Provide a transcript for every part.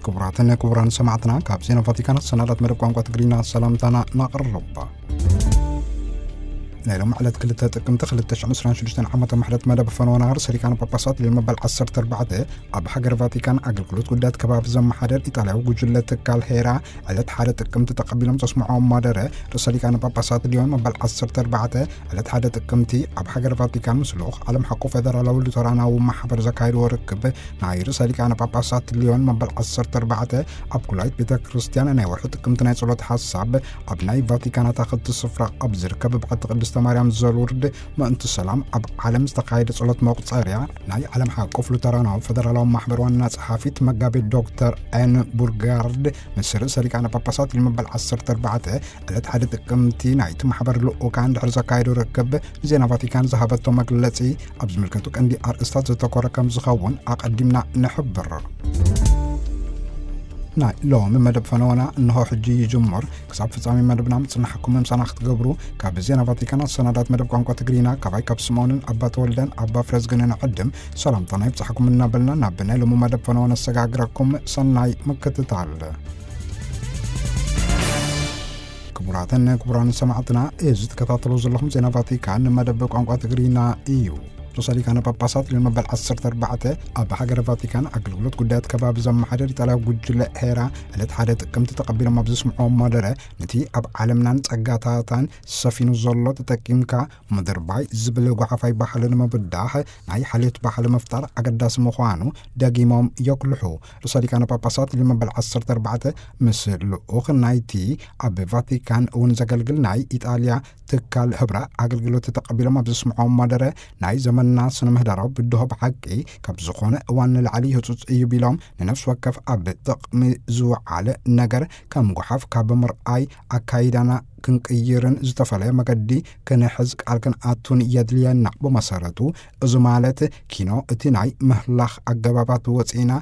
ክቡራትን ክቡራን ሰማዕትና፣ ካብ ዜና ቫቲካን ሰናዳት መደብ ቋንቋ ትግርኛ ሰላምታና ናቕርብ። ናይ ሎም ዕለት ክልተ ጥቅምቲ ክልተ ሽሕን ዕስራን ሽዱሽተን ዓመተ ምሕረት መደብ ፈነወ ናህር ሰሊቃን ጳጳሳት ሊዮን መበል ዓሰርተ ኣርባዕተ ኣብ ሃገር ቫቲካን ኣገልግሎት ጉዳያት ከባቢ ዘመሓደር ኢጣልያዊ ጉጅለ ትካል ሄራ ዕለት ሓደ ጥቅምቲ ተቐቢሎም ዘስምዖም ማደረ ርእሰ ሊቃነ ጳጳሳት ሊዮን መበል ዓሰርተ ኣርባዕተ ዕለት ሓደ ጥቅምቲ ኣብ ሃገር ቫቲካን ምስ ልኡኽ ዓለም ሓቆ ፌደራላዊ ሉተራናዊ ማሕበር ዘካየድዎ ርክብ ናይ ርእሰ ሊቃነ ጳጳሳት ሊዮን መበል ዓሰርተ ኣርባዕተ ኣብ ኩላይት ቤተ ክርስቲያን ናይ ወርሒ ጥቅምቲ ናይ ጸሎት ሓሳብ ኣብ ናይ ቫቲካን ኣታኽልቲ ስፍራ ኣብ ዝርከብ ብዓቲ ቅድስተ ማርያም ዘሉርድ ምእንቲ ሰላም ኣብ ዓለም ዝተኻየደ ጸሎት መቁጸርያ ናይ ዓለም ሓቆፍ ሉተራናዊ ፌደራላዊ ማሕበር ዋና ጸሓፊት መጋቤ ዶክተር ኤን ቡርጋርድ ምስ ርእሰ ሊቃነ ጳጳሳት ሊዮን መበል ዓሰርተ ኣርባዕተ ዕለት ሓደ ጥቅምቲ ናይቲ ማሕበር ልኡካን ድሕሪ ዘካየዱ ርክብ ንዜና ቫቲካን ዝሃበቶ መግለጺ ኣብ ዝምልከቱ ቀንዲ ኣርእስታት ዘተኮረ ከም ዝኸውን ኣቐዲምና ንሕብር። ናይ ሎሚ መደብ ፈነወና እንሆ ሕጂ ይጅምር። ክሳብ ፍጻሜ መደብና ምጽናሕኩም ምሳና ክትገብሩ ካብ ዜና ቫቲካን ኣሰናዳት መደብ ቋንቋ ትግርኛ ካባይ ካብ ስምኦንን ኣባ ተወልደን ኣባ ፍረዝግንን ዕድም ሰላምታና ይብጻሕኩም እናበልና ናብ ናይ ሎሚ መደብ ፈነወ ነሰጋግረኩም። ሰናይ ምክትታል። ክቡራትን ክቡራን ሰማዕትና፣ እዚ ትከታተሉ ዘለኹም ዜና ቫቲካን መደብ ቋንቋ ትግርኛ እዩ። ርእሰ ሊቃነ ጳጳሳት ሊዮን መበል ዓሰርተ ኣርባዕተ ኣብ ሃገረ ቫቲካን ኣገልግሎት ጉዳያት ከባቢ ዘመሓደር ኢጣልያ ጉጅለ ሄራ ዕለት ሓደ ጥቅምቲ ተቐቢሎም ኣብ ዘስምዕዎም መደረ፣ ነቲ ኣብ ዓለምናን ጸጋታታን ሰፊኑ ዘሎ ተጠቂምካ ምድርባይ ዝብል ጓሓፋይ ባህሊ ንምብዳህ ናይ ሓልዮት ባህሊ ምፍጣር ኣገዳሲ ምዃኑ ደጊሞም የጉልሑ። ርእሰ ሊቃነ ጳጳሳት ሊዮን መበል ዓሰርተ ኣርባዕተ ምስ ልኡኽ ናይቲ ኣብ ቫቲካን እውን ዘገልግል ናይ ኢጣልያ ትካል ህብረ ኣገልግሎት ተቐቢሎም ኣብ ዘስምዖም መደረ፣ ናይ ዘመንና ስነ ምህዳራዊ ብድሆ ብሓቂ ካብ ዝኾነ እዋን ንላዕሊ ህጹጽ እዩ ቢሎም፣ ንነፍሲ ወከፍ ኣብ ጥቕሚ ዝወዓለ ነገር ከም ጓሓፍ ካብ ምርኣይ ኣካይዳና ክንቅይርን ዝተፈላለየ መገዲ ክንሕዝ ቃል ክንኣቱን የድልየና። ብመሰረቱ እዚ ማለት ኪኖ እቲ ናይ ምህላኽ ኣገባባት ወፂና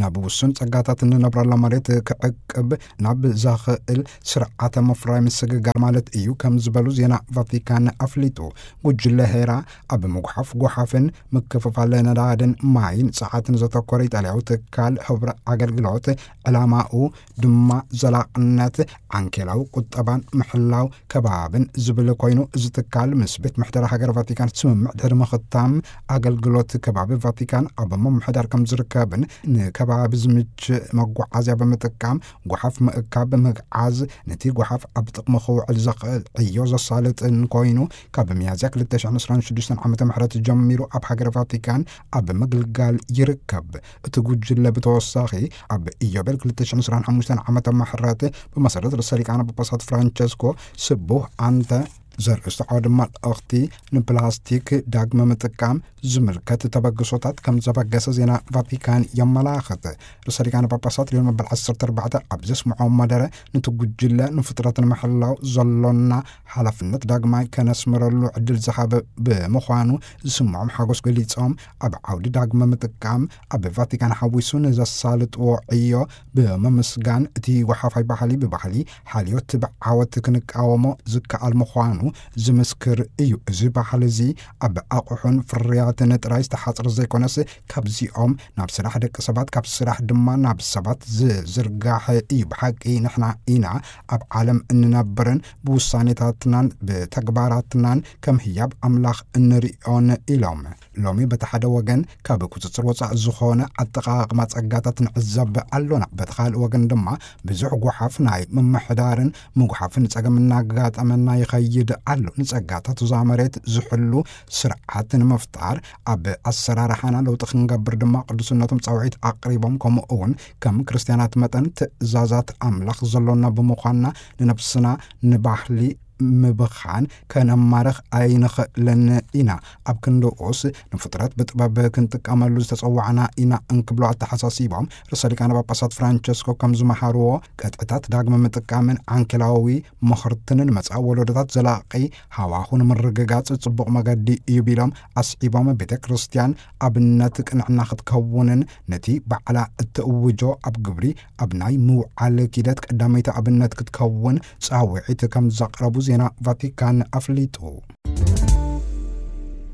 ናብ ውሱን ጸጋታት እንነብረላ መሬት ክዕቅብ ናብ ዘኽእል ስርዓተ ምፍራይ ምስግጋር ማለት እዩ ከም ዝበሉ ዜና ቫቲካን ኣፍሊጡ። ጉጅለ ሄራ ኣብ ምጉሓፍ ጓሓፍን ምክፍፋል ነዳድን ማይን ጸዓትን ዘተኮረ ኢጣልያዊ ትካል ህብረ ኣገልግሎት ዕላማኡ ድማ ዘላቕነት ዓንኬላዊ ቁጠባን ምሕላው ከባብን ዝብል ኮይኑ፣ እዚ ትካል ምስ ቤት ምሕደራ ሃገር ቫቲካን ስምምዕ ድሕሪ ምኽታም ኣገልግሎት ከባቢ ቫቲካን ኣብ ምምሕዳር ከም ዝርከብን ንከባቢ ዝምች መጓዓዝያ ብምጥቃም ጓሓፍ ምእካብ ብምግዓዝ ነቲ ጓሓፍ ኣብ ጥቕሚ ክውዕል ዘኽእል ዕዮ ዘሳልጥን ኮይኑ፣ ካብ ሚያዝያ ክልተ ሽሕን ዕስራን ሽዱሽተን ዓመተ ምህረት ጀሚሩ ኣብ ሃገር ቫቲካን ኣብ ምግልጋል ይርከብ። እቲ ጉጅለ ብተወሳኺ ኣብ ኢዮቤል ክልተ ሽሕን ዕስራን ሓሙሽተን ዓመተ ምህረት ብመሰረት ርእሰ ሊቃነ ጳጳሳት ፍራንቸስኮ ስቡህ ኣንተ ዘርእስቱ ዓውዲ መልእኽቲ ንፕላስቲክ ዳግመ ምጥቃም ዝምልከት ተበግሶታት ከም ዘበገሰ ዜና ቫቲካን የመላኽት። ርእሰ ሊቃነ ጳጳሳት ሊዮን መበል ዓሰርተ ኣርባዕተ ኣብ ዘስምዖ መደረ፣ ነቲ ጉጅለ ንፍጥረት ንምሕላው ዘሎና ሓላፍነት ዳግማይ ከነስምረሉ ዕድል ዝሃበ ብምዃኑ ዝስምዖም ሓጎስ ገሊጾም፣ ኣብ ዓውዲ ዳግመ ምጥቃም ኣብ ቫቲካን ሓዊሱ ንዘሳልጥዎ ዕዮ ብምምስጋን፣ እቲ ጓሓፋይ ባህሊ ብባህሊ ሓልዮት ብዓወት ክንቃወሞ ዝከኣል ምዃኑ ዝምስክር እዩ። እዚ ባህሊ እዚ ኣብ ኣቑሑን ፍርያትን ጥራይ ዝተሓጽረ ዘይኮነስ፣ ካብዚኦም ናብ ስራሕ ደቂ ሰባት፣ ካብ ስራሕ ድማ ናብ ሰባት ዝዝርጋሕ እዩ። ብሓቂ ንሕና ኢና ኣብ ዓለም እንነብርን ብውሳኔታትናን ብተግባራትናን ከም ህያብ ኣምላኽ እንርእዮን ኢሎም። ሎሚ በቲ ሓደ ወገን ካብ ቁጽጽር ወጻኢ ዝኾነ ኣጠቓቕማ ጸጋታት ንዕዘብ ኣሎና። በቲ ካልእ ወገን ድማ ብዙሕ ጓሓፍ ናይ ምምሕዳርን ምጉሓፍን ጸገም እናጋጠመና ይኸይድ ኣሎ። ንጸጋታት እዛ መሬት ዝሕሉ ስርዓት ንምፍጣር ኣብ ኣሰራርሓና ለውጢ ክንገብር ድማ ቅዱስነቶም ጻውዒት ኣቕሪቦም፣ ከምኡ እውን ከም ክርስትያናት መጠን ትእዛዛት ኣምላኽ ዘሎና ብምዃንና ንነብስና ንባህሊ ምብኻን ከነማርኽ ኣይንኽእልን ኢና። ኣብ ክንድኡስ ንፍጥረት ብጥበብ ክንጥቀመሉ ዝተጸዋዕና ኢና እንክብሉ ኣተሓሳሲቦም፣ ርእሰ ሊቃነ ጳጳሳት ፍራንቸስኮ ከም ዝመሃርዎ፣ ቅጥዕታት ዳግመ ምጥቃምን ዓንኬላዊ ምኽርትን ንመጻኢ ወለዶታት ዘላቒ ሃዋሁ ንምርግጋጽ ጽቡቕ መገዲ እዩ ቢሎም፣ ኣስዒቦም ቤተ ክርስቲያን ኣብነት ቅንዕና ክትከውንን ነቲ ባዕላ እትእውጆ ኣብ ግብሪ ኣብ ናይ ምውዓል ኪደት ቀዳመይቲ ኣብነት ክትከውን ጻውዒት ከም ዘቕረቡ ዜና ቫቲካን ኣፍሊጡ።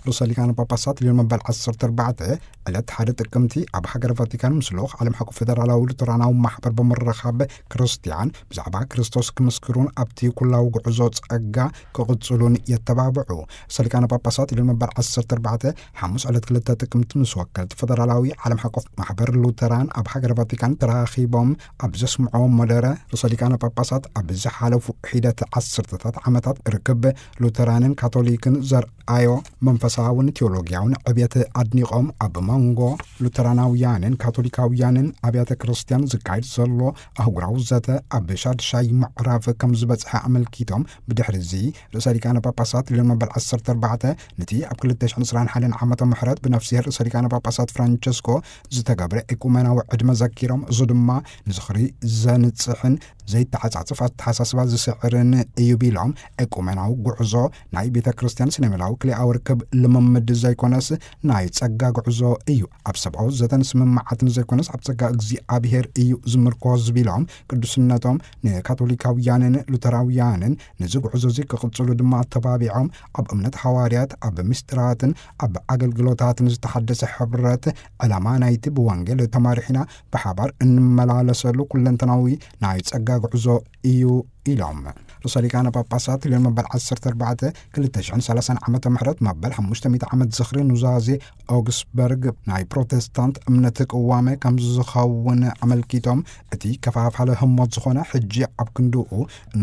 ርእሰ ሊቃነ ጳጳሳት ሊዮን መበል ዓሰርተ ኣርባዕተ ዕለት ሓደ ጥቅምቲ ኣብ ሃገር ቫቲካን ምስ ልኡኽ ዓለም ሓቁ ፌደራላዊ ሉተራናዊ ማሕበር ብምርኻብ፣ ክርስትያን ብዛዕባ ክርስቶስ ክምስክሩን ኣብቲ ኩላዊ ጉዕዞ ጸጋ ክቕጽሉን የተባብዑ። ርእሰ ሊቃነ ጳጳሳት ሊዮን መበል ዓሰርተ ኣርባዕተ ሓሙስ ዕለት ክልተ ጥቅምቲ ምስ ወከልቲ ፌደራላዊ ዓለም ሓቆ ማሕበር ሉተራን ኣብ ሃገር ቫቲካን ተራኺቦም ኣብ ዘስምዕዎ መደረ፣ ርእሰ ሊቃነ ጳጳሳት ኣብ ዝሓለፉ ሒደት ዓሰርተታት ዓመታት ርክብ ሉተራንን ካቶሊክን ዘርኣዮ መንፈሳውን ቴዎሎጊያውን ዕብየት ኣድኒቖም፣ ኣብ መንጎ ሉተራናውያንን ካቶሊካውያንን ኣብያተ ክርስትያን ዝካየድ ዘሎ ኣህጉራዊ ዘተ ኣብ ሻድሻይ ምዕራፍ ከም ዝበጽሐ ኣመልኪቶም፣ ብድሕሪ እዚ ርእሰ ሊቃነ ጳጳሳት ሊዮን መበል ዓሰርተ ኣርባዕተ ነቲ ኣብ ክልተ ሽሕን ዕስራን ሓደን ዓመተ ምሕረት ብነፍስሄር ርእሰ ሊቃነ ጳጳሳት ፍራንቸስኮ ዝተገብረ ኤቁመናዊ ዕድመ ዘኪሮም፣ እዚ ድማ ንዝኽሪ ዘንጽሕን ዘይተዓጻጽፍ ኣተሓሳስባ ዝስዕርን እዩ ቢሎም፣ ኤቁሜናዊ ጉዕዞ ናይ ቤተ ክርስቲያን ሲኖዶሳዊ ክልኤኣዊ ርክብ ልምምድ ዘይኮነስ ናይ ጸጋ ጉዕዞ እዩ። ኣብ ሰብኣዊ ዘተን ስምምዓትን ዘይኮነስ ኣብ ጸጋ እግዚኣብሔር እዩ ዝምርኮዝ ቢሎም፣ ቅዱስነቶም ንካቶሊካውያንን ሉተራውያንን ነዚ ጉዕዞ እዚ ክቕጽሉ ድማ ኣተባቢዖም፣ ኣብ እምነት ሃዋርያት፣ ኣብ ምስጢራትን ኣብ ኣገልግሎታትን ዝተሓደሰ ሕብረት፣ ዕላማ ናይቲ ብወንጌል ተማሪሕና ብሓባር እንመላለሰሉ ኩለንተናዊ ናይ ጸጋ ጉዕዞ እዩ ኢሎም። ርእሰ ሊቃነ ጳጳሳት ሊዮን መበል ዓሰርተ ኣርባዕተ ክልተ ሽሕን ሰላሳን ዓመተ ምሕረት መበል ሓሙሽተ ሚእቲ ዓመት ዝኽሪ ኑዛዜ ኦግስበርግ ናይ ፕሮቴስታንት እምነት ቅዋመ ከም ዝኸውን ኣመልኪቶም፣ እቲ ከፋፋሊ ህሞት ዝኾነ ሕጂ ኣብ ክንድኡ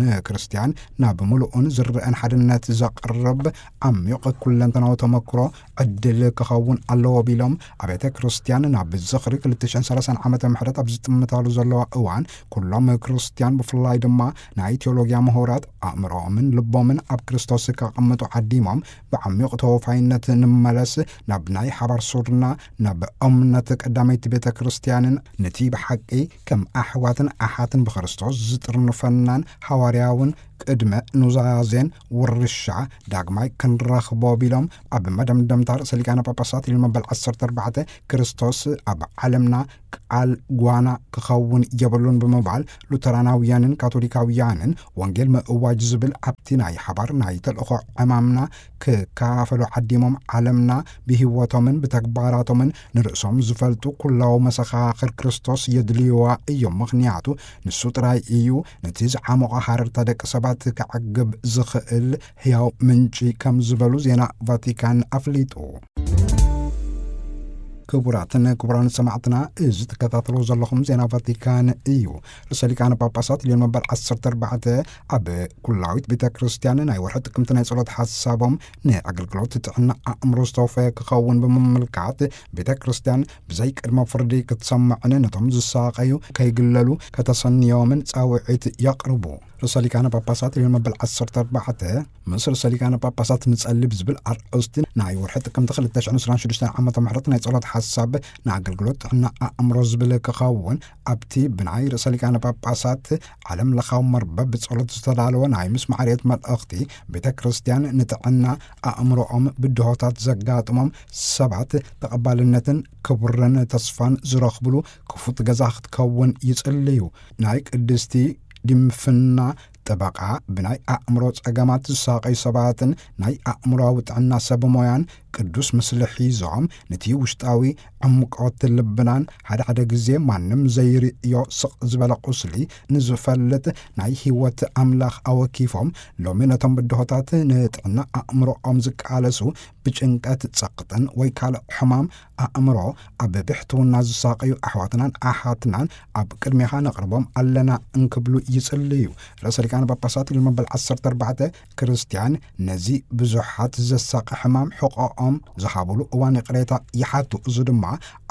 ንክርስቲያን ናብ ምሉእን ዝረአን ሓድነት ዘቕርብ ዓሚቕ ኩለንተናዊ ተመክሮ ዕድል ክኸውን ኣለዎ ቢሎም፣ ኣብያተ ክርስቲያን ናብ ዝኽሪ ክልተ ሽሕን ሰላሳን ዓመተ ምሕረት ኣብ ዝጥምታሉ ዘለዋ እዋን፣ ኩሎም ክርስቲያን ብፍላይ ድማ ናይ ቴዎሎጊያ ምሁራት ኣእምሮኦምን ልቦምን ኣብ ክርስቶስ ከቐምጡ ዓዲሞም፣ ብዓሚቕ ተወፋይነት ንመለስ፣ ናብ ናይ ሓባር ሱርና፣ ናብ እምነት ቀዳመይቲ ቤተ ክርስቲያንን ነቲ ብሓቂ ከም ኣሕዋትን ኣሓትን ብክርስቶስ ዝጥርንፈናን ሃዋርያውን ቅድመ ኑዛዜን ውርሻ ዳግማይ ክንረኽቦ ቢሎም፣ ኣብ መደምደምታ ርእሰ ሊቃነ ጳጳሳት ሊዮን መበል ዓሰርተ ኣርባዕተ ክርስቶስ ኣብ ዓለምና ቃል ጓና ክኸውን የብሉን ብምባል፣ ሉተራናውያንን ካቶሊካውያንን ወንጌል ምእዋጅ ዝብል ኣብቲ ናይ ሓባር ናይ ተልእኾ ዕማምና ክካፈሉ ዓዲሞም፣ ዓለምና ብህይወቶምን ብተግባራቶምን ንርእሶም ዝፈልጡ ኩላዊ መሰኻኽር ክርስቶስ የድልይዋ እዮም። ምኽንያቱ ንሱ ጥራይ እዩ ነቲ ዝዓሞቐ ሃረርታ ደቂ ሰባት ከዕግብ ዝኽእል ህያው ምንጪ ከም ዝበሉ ዜና ቫቲካን ኣፍሊጡ። ክቡራትን ክቡራን ሰማዕትና፣ እዚ ትከታተልዎ ዘለኹም ዜና ቫቲካን እዩ። ርእሰ ሊቃነ ጳጳሳት ሊዮን መበል ዓሰርተ ኣርባዕተ ኣብ ኩላዊት ቤተ ክርስቲያን ናይ ወርሒ ጥቅምቲ ናይ ጸሎት ሓሳቦም ንኣገልግሎት ጥዕና ኣእምሮ ዝተወፈየ ክኸውን ብምምልካት፣ ቤተ ክርስቲያን ብዘይ ቅድመ ፍርዲ ክትሰምዕን ነቶም ዝሳቐዩ ከይግለሉ ከተሰንዮምን ጻውዒት የቕርቡ። ርእሰ ሊቃነ ጳጳሳት ሊዮን መበል ዓሰርተ ኣርባዕተ ምስ ርእሰ ሊቃነ ጳጳሳት ንጸሊ ብዝብል ኣርእስቲ ናይ ወርሒ ጥቅምቲ ክልተ ሽሕን ዕስራን ሽዱሽተን ዓመተ ምሕረት ናይ ጸሎት ሓሳብ ንኣገልግሎት ጥዕና ኣእምሮ ዝብል ክኸውን፣ ኣብቲ ብናይ ርእሰ ሊቃነ ጳጳሳት ዓለም ለኻዊ መርበብ ብጸሎት ዝተዳለወ ናይ ምስማዕ ርየት መልእኽቲ፣ ቤተ ክርስቲያን ንጥዕና ኣእምሮኦም ብድሆታት ዘጋጥሞም ሰባት ተቐባልነትን ክብርን ተስፋን ዝረኽብሉ ክፉት ገዛ ክትከውን ይጽልዩ። ናይ ቅድስቲ ድንፍና ጠበቃ፣ ብናይ ኣእምሮ ጸገማት ዝሳቐዩ ሰባትን ናይ ኣእምሮኣዊ ጥዕና ሰብ ሞያን ቅዱስ ምስሊ ሒዞም፣ ነቲ ውሽጣዊ ዕምቆት ልብናን ሓደ ሓደ ግዜ ማንም ዘይርእዮ ስቕ ዝበለ ቁስሊ ንዝፈልጥ ናይ ህይወት ኣምላኽ ኣወኪፎም፣ ሎሚ ነቶም ብድሆታት ንጥዕና ኣእምሮኦም ዝቃለሱ፣ ብጭንቀት፣ ጸቕጥን ወይ ካልእ ሕማም ኣእምሮ ኣብ ብሕትውና ዝሳቐዩ ኣሕዋትናን ኣሓትናን ኣብ ቅድሜኻ ነቕርቦም ኣለና እንክብሉ ይጽልዩ። ርእሰ ሊቃነ ጳጳሳት ሊዮን መበል ዓሰርተ ኣርባዕተ ክርስትያን ነዚ ብዙሓት ዘሳቒ ሕማም ሕቖኦም ዝሃብሉ እዋን ይቕሬታ ይሓቱ። እዚ ድማ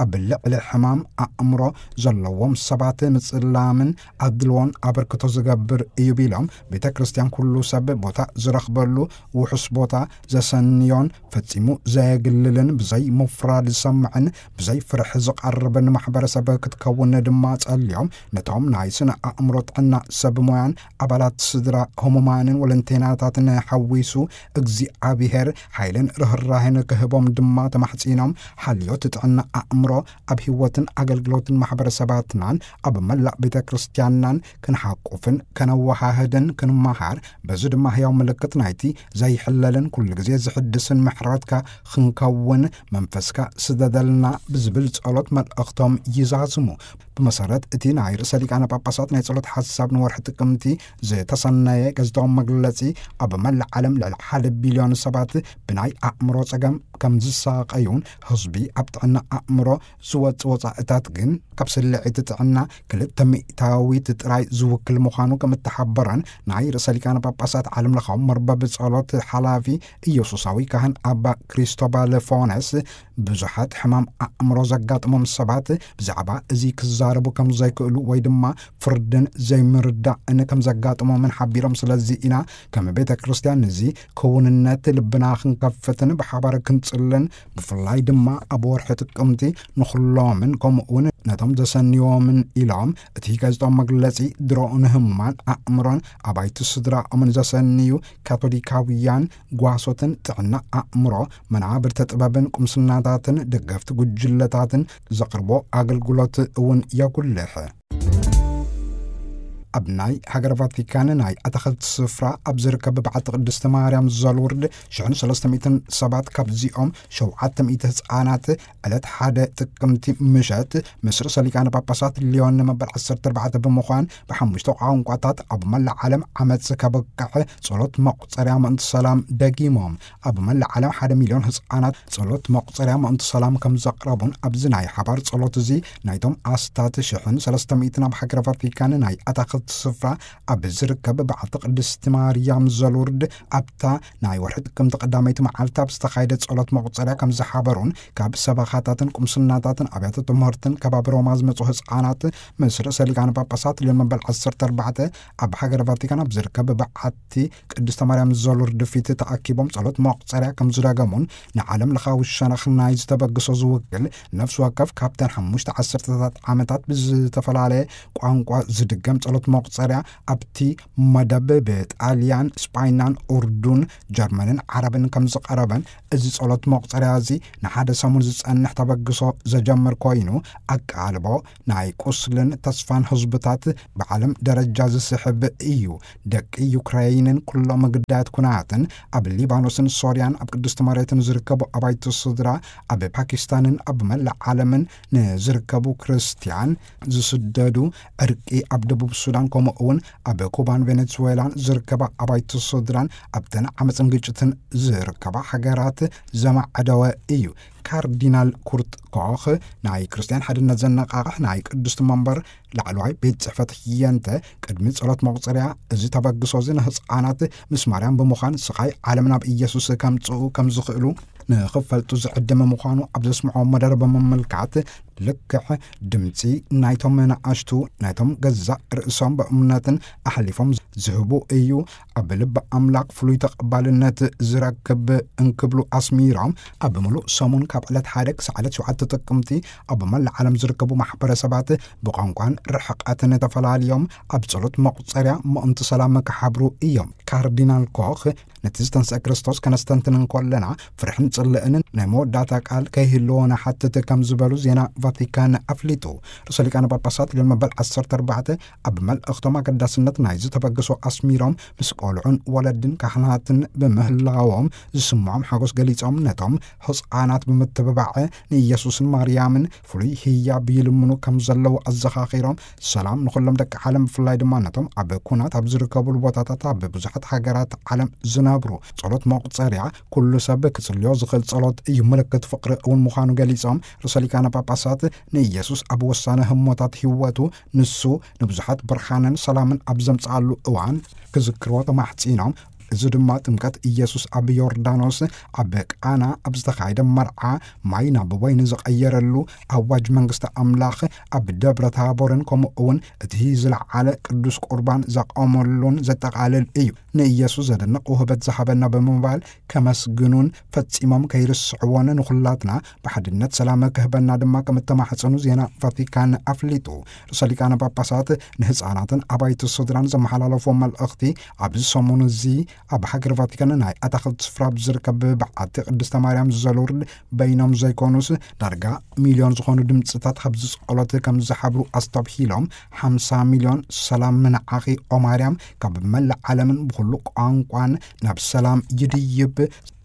ኣብ ልዕሊ ሕማም ኣእምሮ ዘለዎም ሰባት ምጽላምን ኣድልዎን ኣበርክቶ ዝገብር እዩ ቢሎም፣ ቤተ ክርስቲያን ኩሉ ሰብ ቦታ ዝረኽበሉ ውሑስ ቦታ ዘሰንዮን ፈጺሙ ዘየግልልን ብዘይ ምፍራድ ዝሰምዕን ብዘይ ፍርሒ ዝቐርብን ማሕበረሰብ ክትከውን ድማ ጸልዮም፣ ነቶም ናይ ስነ ኣእምሮ ጥዕና ሰብ ሞያን ኣባላት ስድራ ህሙማንን ወለንቴናታትን ሓዊሱ እግዚኣብሔር ሓይልን ርህራሄን ክህቦም ድማ ተማሕጺኖም፣ ሓልዮት ጥዕና ኣእምሮ ኣብ ህይወትን ኣገልግሎትን ማሕበረሰባትናን ኣብ መላእ ቤተ ክርስቲያንናን ክንሓቁፍን ከነወሃህድን ክንመሃር፣ በዚ ድማ ህያው ምልክት ናይቲ ዘይሕለልን ኩሉ ግዜ ዝሕድስን ምሕረትካ ክንከውን መንፈስካ ስደደልና ብዝብል ጸሎት መልእኽቶም ይዛዝሙ። ብመሰረት እቲ ናይ ርእሰ ሊቃነ ጳጳሳት ናይ ጸሎት ሓሳብ ንወርሒ ጥቅምቲ ዝተሰነየ ጋዜጣዊ መግለጺ፣ ኣብ መላእ ዓለም ልዕሊ ሓደ ቢልዮን ሰባት ብናይ ኣእምሮ ጸገም ከም ዝሳቐዩን ህዝቢ ኣብ ጥዕና ኣእምሮ ዝወጽእ ወጻእታት ግን ካብ ስልዒት ጥዕና ክልተ ሚእታዊት ጥራይ ዝውክል ምዃኑ ከም እተሓበረን ናይ ርእሰ ሊቃነ ጳጳሳት ዓለም ለኻዊ መርበብ ጸሎት ሓላፊ ኢየሱሳዊ ካህን ኣባ ክሪስቶባል ፎነስ ብዙሓት ሕማም ኣእምሮ ዘጋጥሞም ሰባት ብዛዕባ እዚ ክዛረቡ ከም ዘይክእሉ ወይ ድማ ፍርድን ዘይምርዳእን ከም ዘጋጥሞምን ሓቢሮም፣ ስለዚ ኢና ከም ቤተ ክርስቲያን እዚ ክውንነት ልብና ክንከፍትን ብሓባር ክንጽልን፣ ብፍላይ ድማ ኣብ ወርሒ ጥቅምቲ ንኹሎምን ከምኡ እውን ነቶም ዘሰንዮምን ኢሎም እቲ ጋዜጣዊ መግለጺ ድሮ ንህሙማን ኣእምሮን ኣባይቲ ስድራኦምን ዘሰንዩ ካቶሊካውያን ጓሶትን ጥዕና ኣእምሮ መናብርተ ጥበብን ቁምስናታትን ደገፍቲ ጉጅለታትን ዘቕርቦ ኣገልግሎት እውን የጉልሕ። ኣብ ናይ ሃገረ ቫቲካን ናይ ኣታኽልቲ ስፍራ ኣብ ዝርከብ በዓቲ ቅድስቲ ማርያም ዘሉርድ ሽሕን ሰለስተ ሚእትን ሰባት ካብዚኦም ሸውዓተ ሚእቲ ህፃናት ዕለት ሓደ ጥቅምቲ ምሸት ምስ ርእሰ ሊቃነ ጳጳሳት ሊዮን መበል ዓሰርተ ኣርባዕተ ብምዃን ብሓሙሽተ ቋንቋታት ኣብ መላእ ዓለም ዓመፅ ከብቅዕ ጸሎት መቁፀርያ ምእንቲ ሰላም ደጊሞም። ኣብ መላእ ዓለም ሓደ ሚልዮን ህፃናት ጸሎት መቁፀርያ ምእንቲ ሰላም ከም ዘቕረቡን ኣብዚ ናይ ሓባር ጸሎት እዚ ናይቶም ኣስታት ሽሕን ሰለስተ ሚእትን ኣብ ሃገረ ቫቲካን ናይ ኣታኽልቲ ስፍራ ኣብ ዝርከብ በዓቲ ቅድስቲ ማርያም ዘሉርድ ኣብታ ናይ ወርሒ ጥቅምቲ ቀዳመይቲ መዓልቲ ኣብ ዝተኻየደ ጸሎት መቁፀርያ ከም ዝሓበሩን ካብ ሰበኻታትን ቁምስናታትን ኣብያተ ትምህርትን ከባቢ ሮማ ዝመጹ ህፃናት ምስ ርእሰ ሊቃነ ጳጳሳት ሊዮን መበል ዓሰርተ ኣርባዕተ ኣብ ሃገረ ቫቲካን ኣብ ዝርከብ በዓቲ ቅድስተ ማርያም ዘሉርድ ፊት ተኣኪቦም ጸሎት መቁፀርያ ከም ዝደገሙን ንዓለም ለኻዊ ሸነኽ ናይ ዝተበግሶ ዝውክል ነፍሲ ወከፍ ካብተን ሓሙሽተ ዓሰርተታት ዓመታት ብዝተፈላለየ ቋንቋ ዝድገም ጸሎት መቁፀርያ ኣብቲ መደብ ብጣልያን፣ ስጳይናን፣ ኡርዱን፣ ጀርመንን ዓረብን ከም ዝቐረበን፣ እዚ ጸሎት መቁፀርያ እዚ ንሓደ ሰሙን ዝጸንሕ ተበግሶ ዘጀምር ኮይኑ፣ ኣቃልቦ ናይ ቁስልን ተስፋን ህዝብታት ብዓለም ደረጃ ዝስሕብ እዩ። ደቂ ዩክረይንን ኩሎም ግዳያት ኩናትን ኣብ ሊባኖስን ሶርያን ኣብ ቅድስቲ መሬትን ዝርከቡ ኣባይቲ ስድራ ኣብ ፓኪስታንን ኣብ መላእ ዓለምን ንዝርከቡ ክርስትያን ዝስደዱ፣ ዕርቂ ኣብ ደቡብ ሱዳን ከምኡ እውን ኣብ ኩባን ቬኔዙዌላን ዝርከባ ኣባይቲ ስድራን ኣብተን ዓመፅን ግጭትን ዝርከባ ሃገራት ዘማዕደወ እዩ። ካርዲናል ኩርት ኮኽ ናይ ክርስትያን ሓድነት ዘነቃቕሕ ናይ ቅድስቲ መንበር ላዕለዋይ ቤት ጽሕፈት ህየንተ ቅድሚ ጸሎት መቑጸርያ እዚ ተበግሶ እዚ ንህፃናት ምስ ማርያም ብምዃን ስቓይ ዓለም ናብ ኢየሱስ ከምጽኡ ከም ዝኽእሉ ንኽፈልጡ ዝዕድም ምዃኑ ኣብ ዘስምዖ መደረ ብምምልካት፣ ልክዕ ድምፂ ናይቶም ንኣሽቱ ናይቶም ገዛእ ርእሶም ብእምነትን ኣሕሊፎም ዝህቡ እዩ ኣብ ልቢ ኣምላኽ ፍሉይ ተቐባልነት ዝረክብ እንክብሉ ኣስሚሮም፣ ኣብ ምሉእ ሰሙን ካብ ዕለት ሓደ ክሳዕ ዕለት ሸውዓተ ጥቅምቲ ኣብ መላእ ዓለም ዝርከቡ ማሕበረሰባት ብቋንቋን ርሕቐትን ተፈላልዮም ኣብ ጸሎት መቑጸርያ ምእንቲ ሰላም ክሓብሩ እዮም። ካርዲናል ኮኽ ነቲ ዝተንስአ ክርስቶስ ከነስተንትን እንከለና ፍርሕን ጽልእን ናይ መወዳእታ ቃል ከይህልዎ ንሓትት ከም ዝበሉ ዜና ቫቲካን ኣፍሊጡ። ርእሰ ሊቃነ ጳጳሳት ሊዮን መበል ዓሰርተ ኣርባዕተ ኣብ መልእኽቶም ኣገዳስነት ናይ ዝተበግሶ ኣስሚሮም፣ ምስ ቆልዑን ወለድን ካህናትን ብምህላዎም ዝስምዖም ሓጎስ ገሊጾም፣ ነቶም ህፃናት ብምትብባዕ ንኢየሱስን ማርያምን ፍሉይ ህያብ ይልምኑ ከም ዘለዉ ኣዘኻኺሮም፣ ሰላም ንኹሎም ደቂ ዓለም፣ ብፍላይ ድማ ነቶም ኣብ ኩናት ኣብ ዝርከቡሉ ቦታታት ኣብ ብዙሓት ሃገራት ዓለም ዝነብሩ። ጸሎት መቑጸርያ ኩሉ ሰብ ክጽልዮ ዝኽእል ጸሎት እዩ፣ ምልክት ፍቕሪ እውን ምዃኑ ገሊጾም፣ ርእሰ ሊቃነ ጳጳሳት ንኢየሱስ ኣብ ወሳኒ ህሞታት ህይወቱ ንሱ ንብዙሓት ብርሃንን ሰላምን ኣብ ዘምጽኣሉ እዋን ክዝክርዎ ተማሕጺኖም። እዚ ድማ ጥምቀት ኢየሱስ ኣብ ዮርዳኖስ ኣብ ቃና ኣብ ዝተኻየደ መርዓ ማይ ናብ ወይኒ ዝቐየረሉ፣ ኣዋጅ መንግስቲ ኣምላኽ ኣብ ደብረ ታቦርን ከምኡ እውን እቲ ዝለዓለ ቅዱስ ቁርባን ዘቐመሉን ዘጠቓልል እዩ። ንኢየሱስ ዘደንቕ ውህበት ዝሃበና ብምባል ከመስግኑን ፈጺሞም ከይርስዕዎን ንኹላትና ብሓድነት ሰላም ክህበና ድማ ከም እተማሕጸኑ ዜና ቫቲካን ኣፍሊጡ። ርእሰ ሊቃነ ጳጳሳት ንህፃናትን ኣባይቲ ስድራን ዘመሓላለፎ መልእኽቲ ኣብዚ ሰሙን እዚ ኣብ ሃገር ቫቲካን ናይ ኣታኽልቲ ስፍራ ኣብ ዝርከብ በዓቲ ቅድስተ ማርያም ዘሎርድ በይኖም ዘይኮኑስ፣ ዳርጋ ሚልዮን ዝኾኑ ድምፅታት ኣብዚ ጸሎት ከም ዝሓብሩ ኣስተብሂሎም፣ ሓምሳ ሚልዮን ሰላም ምንዓኺ ኦ ማርያም፣ ካብ መላእ ዓለምን ብኹሉ ቋንቋን ናብ ሰላም ይድይብ፣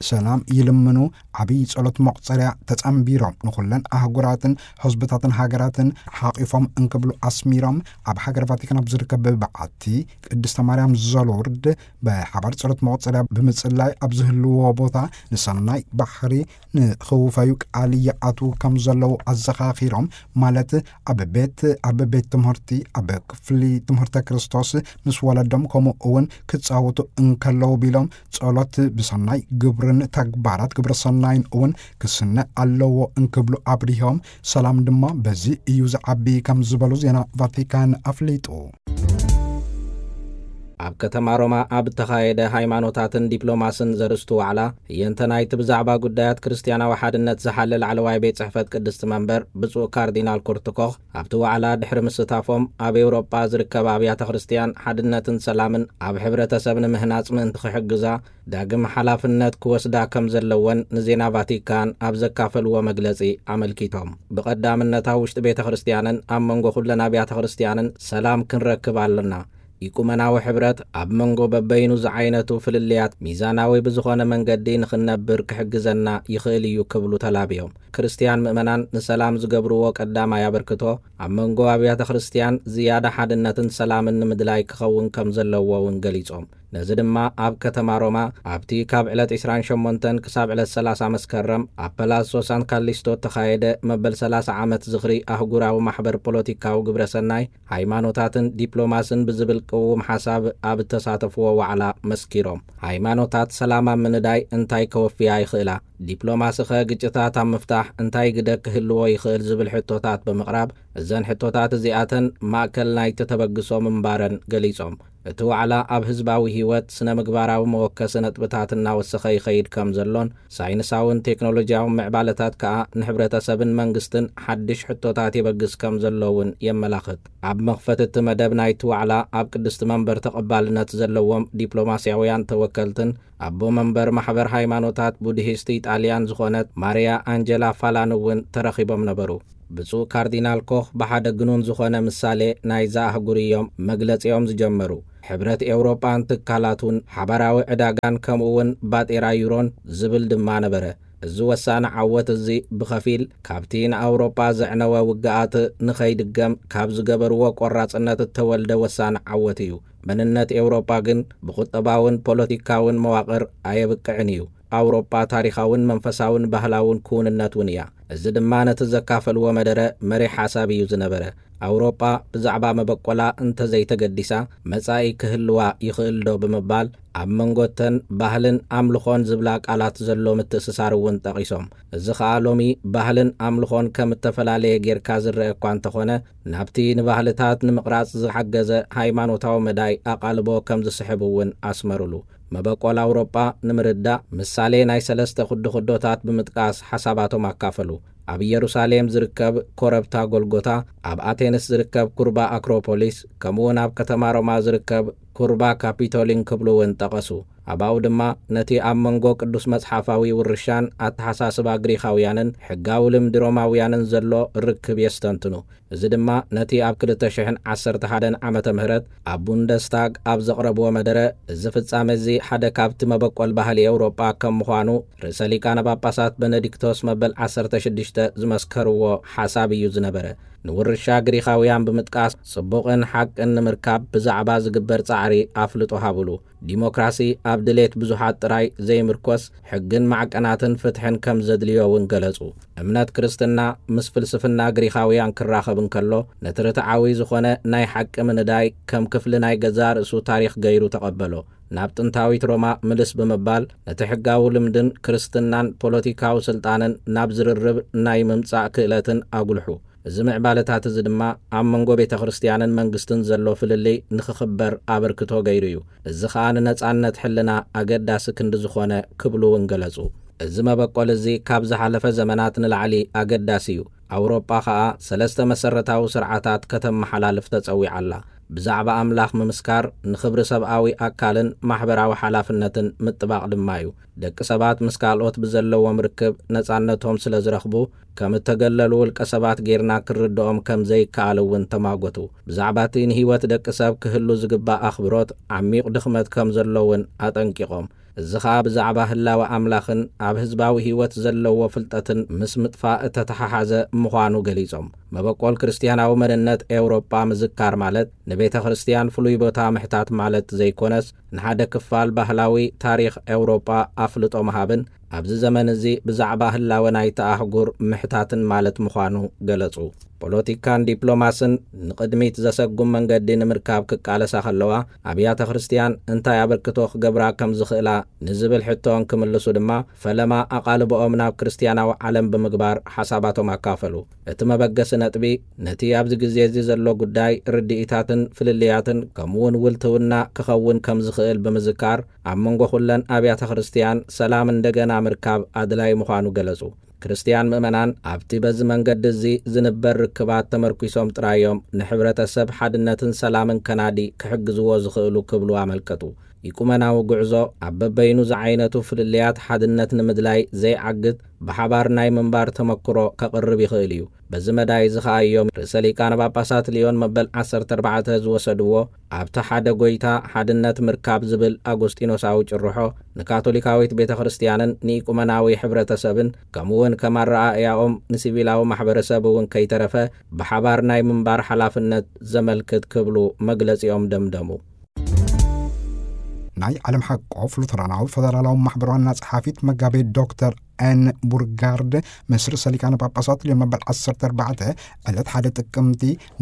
ሰላም ይልምኑ፣ ዓብዪ ጸሎት መቑጸርያ ተጸንቢሮም፣ ንኹለን ኣህጉራትን ህዝብታትን ሃገራትን ሓቒፎም እንክብሉ ኣስሚሮም፣ ኣብ ሃገር ቫቲካን ኣብ ዝርከብ በዓቲ ቅድስተ ማርያም ዘሎርድ ብሓባር ጸሎት መቑጸርያ ብምጽላይ ኣብ ዝህልዎ ቦታ ንሰናይ ባሕሪ ንኽውፈዩ ቃል ይኣትዉ ከም ዘለዉ ኣዘኻኺሮም፣ ማለት ኣብ ቤት፣ ኣብ ቤት ትምህርቲ፣ ኣብ ክፍሊ ትምህርተ ክርስቶስ ምስ ወለዶም፣ ከምኡ እውን ክጻወቱ እንከለዉ ቢሎም፣ ጸሎት ብሰናይ ግብርን ተግባራት ግብረ ሰናይን እውን ክስነ ኣለዎ እንክብሉ ኣብሪሆም፣ ሰላም ድማ በዚ እዩ ዝዓቢ ከም ዝበሉ ዜና ቫቲካን ኣፍሊጡ። ኣብ ከተማ ሮማ ኣብ እተኻየደ ሃይማኖታትን ዲፕሎማስን ዘርእስቱ ዋዕላ፣ ህየንተ ናይቲ ብዛዕባ ጉዳያት ክርስትያናዊ ሓድነት ዝሓለ ላዕለዋይ ቤት ጽሕፈት ቅድስቲ መንበር ብፁዕ ካርዲናል ኩርት ኮኽ፣ ኣብቲ ዋዕላ ድሕሪ ምስታፎም፣ ኣብ ኤውሮጳ ዝርከባ ኣብያተ ክርስትያን ሓድነትን ሰላምን ኣብ ሕብረተሰብ ንምህናጽ ምእንቲ ክሕግዛ፣ ዳግም ሓላፍነት ክወስዳ ከም ዘለወን ንዜና ቫቲካን ኣብ ዘካፈልዎ መግለጺ ኣመልኪቶም። ብቐዳምነት ኣብ ውሽጢ ቤተ ክርስትያንን ኣብ መንጎ ኩለን ኣብያተ ክርስትያንን ሰላም ክንረክብ ኣለና። ኢቁመናዊ ሕብረት ኣብ መንጎ በበይኑ ዝዓይነቱ ፍልልያት ሚዛናዊ ብዝኾነ መንገዲ ንኽንነብር ክሕግዘና ይኽእል እዩ ክብሉ ተላብዮም። ክርስትያን ምእመናን ንሰላም ዝገብርዎ ቀዳማይ ኣበርክቶ ኣብ መንጎ ኣብያተ ክርስትያን ዝያዳ ሓድነትን ሰላምን ንምድላይ ክኸውን ከም ዘለዎ እውን ገሊጾም። ነዚ ድማ ኣብ ከተማ ሮማ ኣብቲ ካብ ዕለት ዕስራን ሸሞንተን ክሳብ ዕለት ሰላሳ መስከረም ኣብ ፓላሶ ሳን ካሊስቶ እተኻየደ መበል ሰላሳ ዓመት ዝኽሪ ኣህጉራዊ ማሕበር ፖለቲካዊ ግብረ ሰናይ፣ ሃይማኖታትን ዲፕሎማስን ብዝብል ቅውም ሓሳብ ኣብ እተሳተፍዎ ዋዕላ መስኪሮም። ሃይማኖታት ሰላም ኣብ ምንዳይ እንታይ ከወፍያ ይኽእላ? ዲፕሎማሲ ኸ ግጭታት ኣብ ምፍታሕ እንታይ ግደ ክህልዎ ይኽእል ዝብል ሕቶታት ብምቕራብ፣ እዘን ሕቶታት እዚኣተን ማእከል ናይቲ ተበግሶ ምንባረን ገሊጾም። እቲ ዋዕላ ኣብ ህዝባዊ ህይወት ስነ ምግባራዊ መወከሲ ነጥብታት እናወሰኸ ይኸይድ ከም ዘሎን፣ ሳይንሳውን ቴክኖሎጂያውን ምዕባለታት ከኣ ንሕብረተሰብን መንግስትን ሓድሽ ሕቶታት የበግስ ከም ዘሎ እውን የመላኽት። ኣብ መኽፈቲ እቲ መደብ ናይቲ ዋዕላ ኣብ ቅድስቲ መንበር ተቐባልነት ዘለዎም ዲፕሎማስያውያን ተወከልትን ኣቦ መንበር ማሕበር ሃይማኖታት ቡድሂስት ኢጣልያን ዝኾነት ማርያ ኣንጀላ ፋላን እውን ተረኺቦም ነበሩ። ብፁዕ ካርዲናል ኮኽ ብሓደ ግኑን ዝኾነ ምሳሌ ናይዛ ኣህጉር እዮም መግለጺኦም ዝጀመሩ። ሕብረት ኤውሮጳን ትካላቱን፣ ሓባራዊ ዕዳጋን፣ ከምኡ እውን ባጤራ ዩሮን ዝብል ድማ ነበረ። እዚ ወሳኒ ዓወት እዚ ብኸፊል ካብቲ ንኣውሮጳ ዘዕነወ ውግኣት ንኸይድገም ካብ ዝገበርዎ ቆራጽነት እተወልደ ወሳኒ ዓወት እዩ። መንነት ኤውሮጳ ግን ብቁጠባውን ፖለቲካውን መዋቕር ኣየብቅዕን እዩ። ኣውሮጳ ታሪኻውን መንፈሳውን ባህላውን ክውንነት እውን እያ። እዚ ድማ ነቲ ዘካፈልዎ መደረ መሪሕ ሓሳብ እዩ ዝነበረ። ኣውሮጳ ብዛዕባ መበቆላ እንተዘይተገዲሳ፣ መጻኢ ክህልዋ ይኽእል ዶ ብምባል፣ ኣብ መንጎተን ባህልን ኣምልኾን ዝብላ ቃላት ዘሎ ምትእስሳር እውን ጠቒሶም። እዚ ኸኣ ሎሚ ባህልን ኣምልኾን ከም እተፈላለየ ጌርካ ዝረአ እኳ እንተኾነ፣ ናብቲ ንባህልታት ንምቕራጽ ዝሓገዘ ሃይማኖታዊ መዳይ ኣቓልቦ ከም ዝስሕብ እውን ኣስመሩሉ። መበቆል ኣውሮጳ ንምርዳእ ምሳሌ ናይ ሰለስተ ኩድኹዶታት ብምጥቃስ ሓሳባቶም ኣካፈሉ። ኣብ ኢየሩሳሌም ዝርከብ ኮረብታ ጎልጎታ፣ ኣብ ኣቴንስ ዝርከብ ኩርባ ኣክሮፖሊስ፣ ከምኡውን ኣብ ከተማ ሮማ ዝርከብ ኩርባ ካፒቶሊን ክብሉ እውን ጠቐሱ። ኣብኡ ድማ ነቲ ኣብ መንጎ ቅዱስ መጽሓፋዊ ውርሻን ኣተሓሳስባ ግሪኻውያንን ሕጋዊ ልምዲ ሮማውያንን ዘሎ ርክብ የስተንትኑ። እዚ ድማ ነቲ ኣብ ክልተ ሽሕን ዓሰርተ ሓደን ዓመተ ምህረት ኣብ ቡንደስታግ ኣብ ዘቕረብዎ መደረ፣ እዚ ፍጻመ እዚ ሓደ ካብቲ መበቆል ባህሊ ኤውሮጳ ከም ምዃኑ፣ ርእሰ ሊቃነ ጳጳሳት በነዲክቶስ መበል ዓሰርተ ሽዱሽተ ዝመስከርዎ ሓሳብ እዩ ዝነበረ። ንውርሻ ግሪኻውያን ብምጥቃስ፣ ጽቡቕን ሓቅን ንምርካብ ብዛዕባ ዝግበር ጻዕሪ ኣፍልጦ ሃብሉ። ዲሞክራሲ ኣብ ድሌት ብዙሓት ጥራይ ዘይምርኮስ፣ ሕግን ማዕቀናትን ፍትሕን ከም ዘድልዮ እውን ገለጹ። እምነት ክርስትና ምስ ፍልስፍና ግሪኻውያን ክራኸብ እንከሎ፣ ነቲ ርትዓዊ ዝኾነ ናይ ሓቂ ምንዳይ ከም ክፍሊ ናይ ገዛእ ርእሱ ታሪኽ ገይሩ ተቐበሎ። ናብ ጥንታዊት ሮማ ምልስ ብምባል፣ ነቲ ሕጋዊ ልምድን ክርስትናን ፖለቲካዊ ስልጣንን ናብ ዝርርብ ናይ ምምጻእ ክእለትን ኣጉልሑ። እዚ ምዕባለታት እዚ ድማ ኣብ መንጎ ቤተ ክርስትያንን መንግስትን ዘሎ ፍልልይ ንኽኽበር ኣበርክቶ ገይሩ እዩ። እዚ ኸኣ ንነጻነት ሕልና ኣገዳሲ ክንዲ ዝኾነ ክብሉ እውን ገለጹ። እዚ መበቆል እዚ ካብ ዝሓለፈ ዘመናት ንላዕሊ ኣገዳሲ እዩ። ኣውሮጳ ኸኣ ሰለስተ መሰረታዊ ስርዓታት ከተመሓላልፍ ተጸዊዓ ኣላ። ብዛዕባ ኣምላኽ ምምስካር ንኽብሪ ሰብኣዊ ኣካልን ማሕበራዊ ሓላፍነትን ምጥባቕ ድማ እዩ። ደቂ ሰባት ምስ ካልኦት ብዘለዎም ርክብ ነጻነቶም ስለ ዝረኽቡ፣ ከም እተገለሉ ውልቀ ሰባት ጌርና ክንርድኦም ከም ዘይከኣል እውን ተማጎቱ። ብዛዕባ እቲ ንህይወት ደቂ ሰብ ክህሉ ዝግባእ ኣኽብሮት ዓሚቕ ድኽመት ከም ዘሎ እውን ኣጠንቂቖም። እዚ ኸኣ ብዛዕባ ህላወ ኣምላኽን ኣብ ህዝባዊ ህይወት ዘለዎ ፍልጠትን ምስ ምጥፋእ እተተሓሓዘ ምዃኑ ገሊጾም። መበቆል ክርስትያናዊ መንነት ኤውሮጳ ምዝካር ማለት ንቤተ ክርስትያን ፍሉይ ቦታ ምሕታት ማለት ዘይኮነስ፣ ንሓደ ክፋል ባህላዊ ታሪኽ ኤውሮጳ ኣፍልጦ ምሃብን ኣብዚ ዘመን እዚ ብዛዕባ ህላወ ናይታ ኣህጉር ምሕታትን ማለት ምዃኑ ገለጹ። ፖለቲካን ዲፕሎማስን ንቕድሚት ዘሰጉም መንገዲ ንምርካብ ክቃለሳ ከለዋ፣ ኣብያተ ክርስትያን እንታይ ኣበርክቶ ክገብራ ከም ዝኽእላ ንዝብል ሕቶ እንክምልሱ ድማ፣ ፈለማ ኣቓልቦኦም ናብ ክርስትያናዊ ዓለም ብምግባር ሓሳባቶም ኣካፈሉ። እቲ መበገሲ ነጥቢ፣ ነቲ ኣብዚ ግዜ እዚ ዘሎ ጉዳይ ርድኢታትን ፍልልያትን ከምኡውን ውልትውና ክኸውን ከም ዝኽእል ብምዝካር፣ ኣብ መንጎ ኩለን ኣብያተ ክርስትያን ሰላም እንደገና ምርካብ ኣድላይ ምዃኑ ገለጹ። ክርስትያን ምእመናን ኣብቲ በዚ መንገዲ እዚ ዝንበር ርክባት ተመርኲሶም ጥራዮም ንሕብረተሰብ ሓድነትን ሰላምን ከናዲ ክሕግዝዎ ዝኽእሉ ክብሉ ኣመልከቱ። ኢቁመናዊ ጉዕዞ ኣብ በበይኑ ዝዓይነቱ ፍልልያት ሓድነት ንምድላይ ዘይዓግት ብሓባር ናይ ምንባር ተመክሮ ከቕርብ ይኽእል እዩ። በዚ መዳይ እዚ ኸኣ እዮም ርእሰ ሊቃነ ጳጳሳት ልዮን መበል ዓሰርተ ኣርባዕተ ዝወሰድዎ፣ ኣብቲ ሓደ ጐይታ ሓድነት ምርካብ ዝብል ኣጎስጢኖሳዊ ጭርሖ ንካቶሊካዊት ቤተ ክርስትያንን ንኢቁመናዊ ሕብረተሰብን፣ ከምኡውን ከም ኣረኣእያኦም ንሲቪላዊ ማሕበረሰብ እውን ከይተረፈ ብሓባር ናይ ምንባር ሓላፍነት ዘመልክት ክብሉ መግለጺኦም ደምደሙ። ናይ ዓለም ሓቆፍ ሉተራናዊ ፈደራላዊ ማሕበር ዋና ጸሓፊት መጋቤ ዶክተር ኤን ቡርጋርድ ምስ ርእሰ ሊቃነ ጳጳሳት ልዮን መበል ዓሰርተ ኣርባዕተ ዕለት ሓደ ጥቅምቲ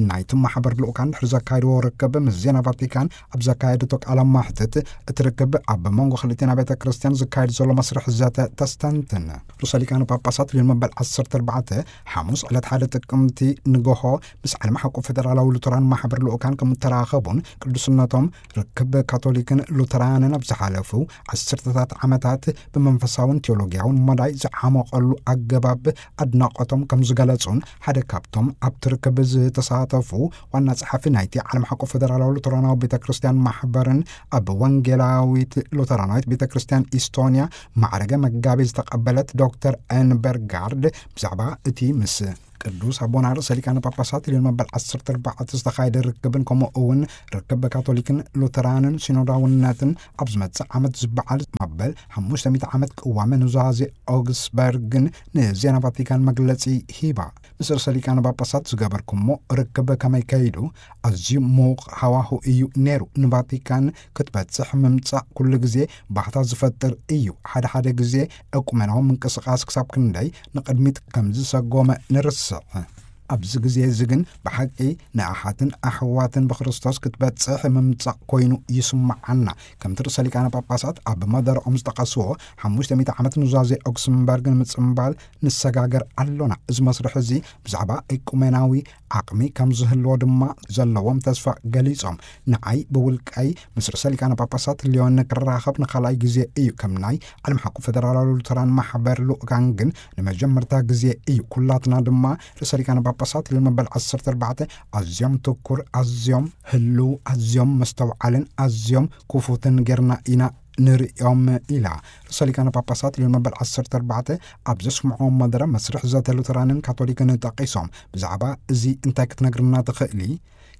ናይቲ ማሕበር ልኡካን ድሕሪ ዘካየድዎ ርክብ ምስ ዜና ቫቲካን ኣብ ዘካየደቶ ቃለ ማሕትት፣ እቲ ርክብ ኣብ መንጎ ክልቲኣን ቤተ ክርስትያን ዝካየድ ዘሎ መስርሕ ዘተ ተስተንትን። ርእሰ ሊቃነ ጳጳሳት ልዮን መበል ዓሰርተ ኣርባዕተ ሓሙስ ዕለት ሓደ ጥቅምቲ ንጎሆ ምስ ዓለም ሓቆፍ ፈደራላዊ ሉተራን ማሕበር ልኡካን ከም እተራኸቡን ቅዱስነቶም ርክብ ካቶሊክን ሉተራንን ኣብ ዝሓለፉ ዓሰርተታት ዓመታት ብመንፈሳውን ቴዎሎጊያውን መዳይ ዝዓመቐሉ ኣገባብ ኣድናቖቶም ከም ዝገለጹን፣ ሓደ ካብቶም ኣብቲ ርክብ ዝተሳተፉ ዋና ጸሓፊ ናይቲ ዓለም ሓቆፍ ፈደራላዊ ሉተራናዊ ቤተ ክርስትያን ማሕበርን ኣብ ወንጌላዊት ሉተራናዊት ቤተ ክርስትያን ኢስቶንያ ማዕረገ መጋቤ ዝተቐበለት ዶክተር ኤን በርጋርድ ብዛዕባ እቲ ምስ ቅዱስ ኣቦና ርእሰ ሊቃነ ጳጳሳት ልዮን መበል ዓሰርተ ኣርባዕተ ዝተኻየደ ርክብን፣ ከምኡ እውን ርክብ ካቶሊክን ሉተራንን ሲኖዳውነትን ኣብ ዝመጽእ ዓመት ዝበዓል መበል ሓሙሽተ ሚእቲ ዓመት ቅዋመ ኑዛዜ ኦግስበርግን ንዜና ቫቲካን መግለጺ ሂባ። ምስ ርእሰ ሊቃነ ጳጳሳት ዝገበርኩሞ ርክብ ከመይ ከይዱ? ኣዝዩ ምዉቕ ሃዋሁ እዩ ነይሩ። ንቫቲካን ክትበጽሕ ምምጻእ ኩሉ ግዜ ባህታ ዝፈጥር እዩ። ሓደ ሓደ ግዜ እቁመናዊ ምንቅስቓስ ክሳብ ክንደይ ንቕድሚት ከም ዝሰጎመ ንርስዕ። ኣብዚ ግዜ እዚ ግን ብሓቂ ንኣሓትን ኣሕዋትን ብክርስቶስ ክትበጽሕ ምምጻእ ኮይኑ ይስምዓና። ከምቲ ርእሰ ሊቃነ ጳጳሳት ኣብ መደረኦም ዝጠቐስዎ፣ ሓሙሽተ ሚእቲ ዓመት ኑዛዜ ኦግስንበርግ ንምጽምባል ንሰጋገር ኣሎና። እዚ መስርሕ እዚ ብዛዕባ ኤቁሜናዊ ዓቕሚ ከም ዝህልዎ ድማ ዘለዎም ተስፋ ገሊጾም። ንዓይ ብውልቀይ ምስ ርእሰ ሊቃነ ጳጳሳት ሊዮን ክራኸብ ንኻልኣይ ግዜ እዩ። ከም ናይ ዓለም ሓቁ ፈደራላዊ ሉተራን ማሕበር ልኡካን ግን ንመጀመርታ ግዜ እዩ። ኩላትና ድማ ርእሰ ሊቃነ ጳጳሳት ሊዮን መበል ዓሰርተ ኣርባዕተ ኣዝዮም ትኩር፣ ኣዝዮም ህልው፣ ኣዝዮም መስተውዓልን ኣዝዮም ክፉትን ጌርና ኢና ንርእዮም ኢላ። ርእሰ ሊቃነ ጳጳሳት ሊዮን መበል ዓሰርተ ኣርባዕተ ኣብ ዘስምዖም መደረ መስርሕ ዘተ ሉተራንን ካቶሊክን ጠቒሶም፣ ብዛዕባ እዚ እንታይ ክትነግርና ትኽእሊ?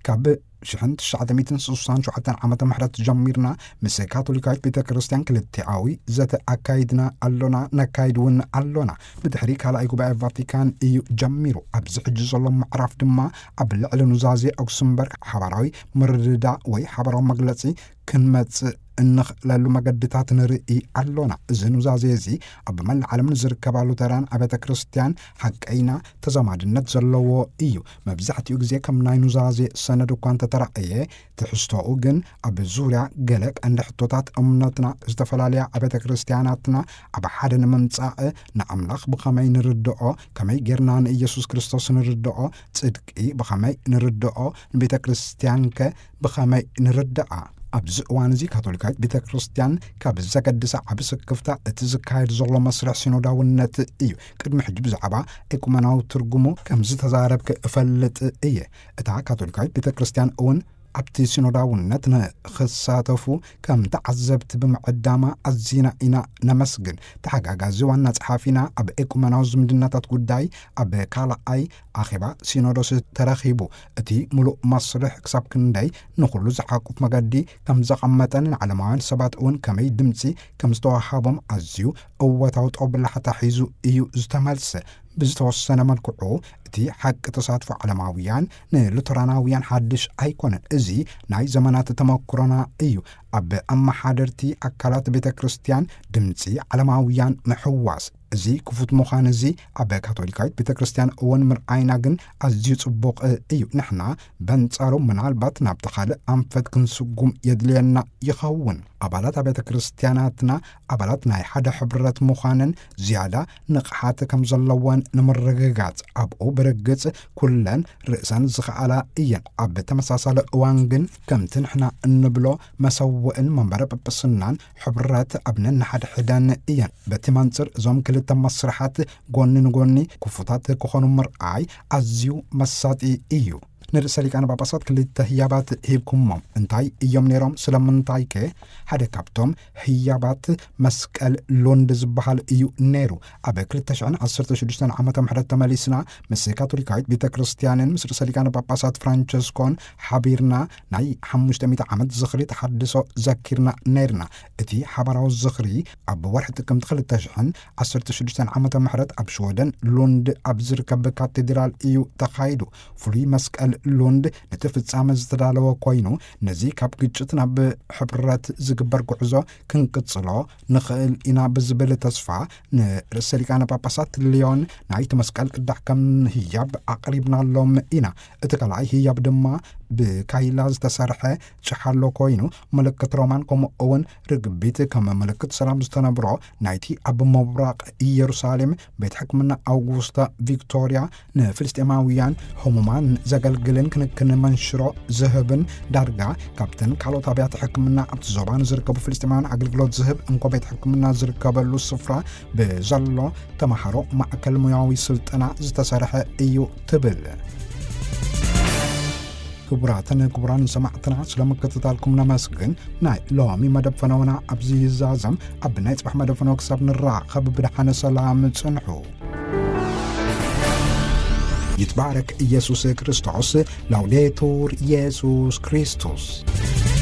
ካብ ሽሕን ትሽዓተ ሚእትን ስሳን ሸውዓተን ዓመተ ምሕረት ጀሚርና ምስ ካቶሊካዊት ቤተ ክርስቲያን ክልቲኣዊ ዘተ ኣካይድና ኣሎና፣ ነካይድ እውን ኣሎና። ብድሕሪ ካልኣይ ጉባኤ ቫቲካን እዩ ጀሚሩ። ኣብዚ ሕጂ ዘሎ ምዕራፍ ድማ ኣብ ልዕሊ ኑዛዜ ኦግስንበርግ ሓባራዊ ምርድዳእ ወይ ሓባራዊ መግለጺ ክንመጽእ እንኽእለሉ መገድታት ንርኢ ኣሎና። እዚ ኑዛዜ እዚ ኣብ መላእ ዓለም ንዝርከባ ሉተራን ኣብያተ ክርስቲያን ሓቀይና ተዛማድነት ዘለዎ እዩ። መብዛሕትኡ ግዜ ከም ናይ ኑዛዜ ሰነድ እኳ እንተተራእየ፣ ትሕዝቶኡ ግን ኣብ ዙርያ ገለ ቀንዲ ሕቶታት እምነትና፣ ዝተፈላለያ ኣብያተ ክርስቲያናትና ኣብ ሓደ ንምምጻእ፣ ንኣምላኽ ብኸመይ ንርድኦ፣ ከመይ ጌርና ንኢየሱስ ክርስቶስ ንርድኦ፣ ጽድቂ ብኸመይ ንርድኦ፣ ንቤተ ክርስቲያንከ ብኸመይ ንርድኣ? ኣብዚ እዋን እዚ ካቶሊካዊት ቤተ ክርስቲያን ካብ ዘገድሳ ዓቢ ስክፍታ እቲ ዝካየድ ዘሎ መስርሕ ሲኖዳውነት እዩ። ቅድሚ ሕጂ ብዛዕባ ኤኩመናዊ ትርጉሙ ከም ዝተዛረብክ እፈልጥ እየ። እታ ካቶሊካዊት ቤተ ክርስቲያን እውን ኣብቲ ሲኖዳውነት ንኽሳተፉ ከም ተዓዘብቲ ብምዕዳማ ኣዚና ኢና ነመስግን። ተሓጋጋዚ ዋና ጸሓፊና ኣብ ኤቁመናዊ ዝምድናታት ጉዳይ ኣብ ካልኣይ ኣኼባ ሲኖዶስ ተረኺቡ። እቲ ምሉእ መስርሕ ክሳብ ክንደይ ንኹሉ ዝሓቁፍ መገዲ ከም ዘቐመጠን ንዓለማውያን ሰባት እውን ከመይ ድምፂ ከም ዝተዋሃቦም ኣዝዩ እወታዊ ጦብላሕታ ሒዙ እዩ ዝተመልሰ። ብዝተወሰነ መልክዑ እቲ ሓቂ ተሳትፎ ዓለማውያን ንሉተራናውያን ሓድሽ ኣይኮነን። እዚ ናይ ዘመናት ተመክሮና እዩ። ኣብ ኣመሓደርቲ ኣካላት ቤተ ክርስቲያን ድምፂ ዓለማውያን ምሕዋስ። እዚ ክፉት ምዃን እዚ ኣብ ካቶሊካዊት ቤተ ክርስቲያን እውን ምርኣይና ግን ኣዝዩ ጽቡቕ እዩ። ንሕና በንጻሩ ምናልባት ናብቲ ካልእ ኣንፈት ክንስጉም የድልየና ይኸውን። ኣባላት ኣብያተ ክርስቲያናትና ኣባላት ናይ ሓደ ሕብረት ምዃንን ዝያዳ ንቕሓት ከም ዘለወን ንምርግጋጽ ኣብኡ ብርግጽ ኩለን ርእሰን ዝኸኣላ እየን። ኣብ ተመሳሳሊ እዋን ግን ከምቲ ንሕና እንብሎ መሰውእን መንበረ ጵጵስናን ሕብረት ኣብ ነንሓድሕደን እየን። በቲ መንጽር እዞም ክልተ መስርሓት ጎኒ ንጎኒ ክፉታት ክኾኑ ምርኣይ ኣዝዩ መሳጢ እዩ። ንርእሰ ሊቃነ ጳጳሳት ክልተ ህያባት ሂብኩሞም። እንታይ እዮም ነይሮም? ስለምንታይ ከ? ሓደ ካብቶም ህያባት መስቀል ሉንድ ዝበሃል እዩ ነይሩ። ኣብ ክልተ ሽሕን ዓሰርተ ሽዱሽተን ዓመተ ምሕረት ተመሊስና ምስ ካቶሊካዊት ቤተ ክርስቲያንን ምስ ርእሰ ሊቃነ ጳጳሳት ፍራንቸስኮን ሓቢርና ናይ ሓሙሽተ ሚእቲ ዓመት ዝኽሪ ተሓድሶ ዘኪርና ነይርና። እቲ ሓባራዊ ዝኽሪ ኣብ ወርሒ ጥቅምቲ ክልተ ሽሕን ዓሰርተ ሽዱሽተን ዓመተ ምሕረት ኣብ ሽወደን ሉንድ ኣብ ዝርከብ ካቴድራል እዩ ተኻይዱ። ፍሉይ መስቀል ሉንድ ነቲ ፍጻመ ዝተዳለወ ኮይኑ፣ ነዚ ካብ ግጭት ናብ ሕብረት ዝግበር ጉዕዞ ክንቅጽሎ ንኽእል ኢና ብዝብል ተስፋ ንርእሰ ሊቃነ ጳጳሳት ሊዮን ናይቲ መስቀል ቅዳሕ ከም ህያብ ኣቕሪብናሎም ኢና። እቲ ካልኣይ ህያብ ድማ ብካይላ ዝተሰርሐ ጭሓሎ ኮይኑ፣ ምልክት ሮማን ከምኡ እውን ርግቢት ከም ምልክት ሰላም ዝተነብሮ ናይቲ ኣብ ምብራቕ ኢየሩሳሌም ቤት ሕክምና ኣውጉስታ ቪክቶርያ ንፍልስጤማውያን ህሙማን ዘገልግልን ክንክን መንሽሮ ዝህብን ዳርጋ ካብተን ካልኦት ኣብያተ ሕክምና ኣብቲ ዞባ ንዝርከቡ ፍልስጤማውያን ኣገልግሎት ዝህብ እንኮ ቤት ሕክምና ዝርከበሉ ስፍራ ብዘሎ ተምሃሮ ማእከል ሙያዊ ስልጠና ዝተሰርሐ እዩ ትብል። ክቡራትን ክቡራን ሰማዕትና፣ ስለ ምክትታልኩም ነመስግን። ናይ ሎሚ መደብ ፈነውና ኣብዚ ይዛዘም። ኣብ ናይ ጽባሕ መደብ ፈነው ክሳብ ንራኸብ ብደሓነ ሰላም ጽንሑ። ይትባረክ ኢየሱስ ክርስቶስ። ላውዴቱር ኢየሱስ ክርስቶስ።